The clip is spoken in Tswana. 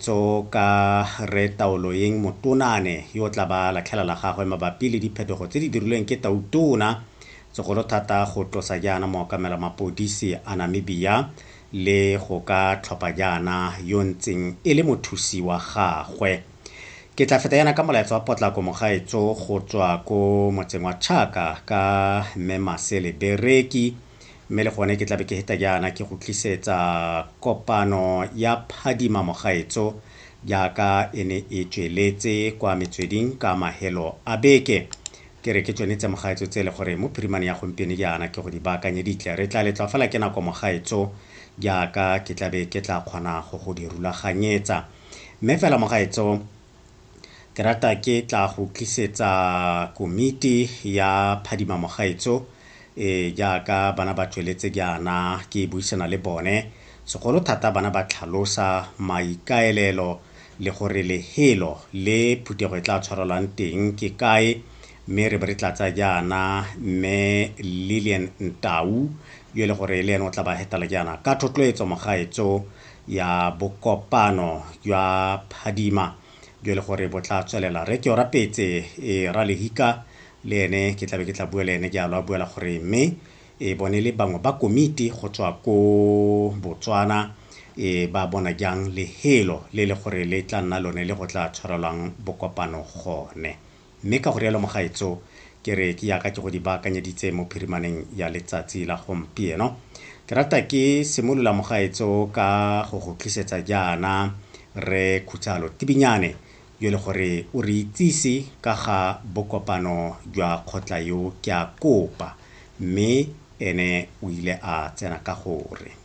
Tso ka Rre Taoloeng Motonane yo o tla ba latlhela la gagwe mabapi le diphetogo tse di dirilweng ke Tautona, segolo thata go tlosa jaana mookamela mapodisi a Namibia le go ka tlhopha jaana yo ntseng e le mothusi wa gagwe. Ke tla feta yana ka molaetsa wa potlako mogaetso go tswa ko motseng wa Chaka ka Mme Masele Bereki. Mme le gone ke tlabe ke heta jaana ke go tlisetsa kopano ya Phadima Mogaetso jaaka e ne e tsweletse kwa metsweding ka mahelo a beke. Ke re ke tsone tse mogaetso tse e le gore mo phirimane ya gompieno jaana ke go di baakanyeditle. Re tla letlwa fela ke nako mogaetso jaaka ke tlabe ke tla kgona go go di rulaganyetsa. Mme fela mogaetso ke rata ke tla go tlisetsa komiti ya Phadima Mogaetso e jaaka bana ba tsweletse jaana ke buisana le bone segolo thata bana ba tlhalosa maikaelelo le gore lehelo le phuthego e tla tshwarelwang teng ke kae mme re be re tlatsa jaana mme Lillian Ntau yo e le gore le ene o tla ba hetela jaana ka thotloetso mogaetso ya bokopano jwa Phadima jo e le gore bo tla tswelela. Re ke Orapetse e Ralehika le ene ke tlabe ke tla bua le ene jalo a buela gore mme e bone le bangwe ba komiti go tswa ko Botswana e ba bona jang lehelo le le gore le tla nna lone le go tla tshwarelwang bokopano gone. Mme ka go rialo mogaetso ke re ke yaka ke go di baakanyeditse mo phirimaneng ya letsatsi la gompieno. Ke rata ke simolola mogaetso ka go go tlisetsa jaana re Khutsalo Tibinyane yo le gore o re itsise ka ga bokopano jwa kgotla yo ke a kopa mme ene o ile a tsena ka gore.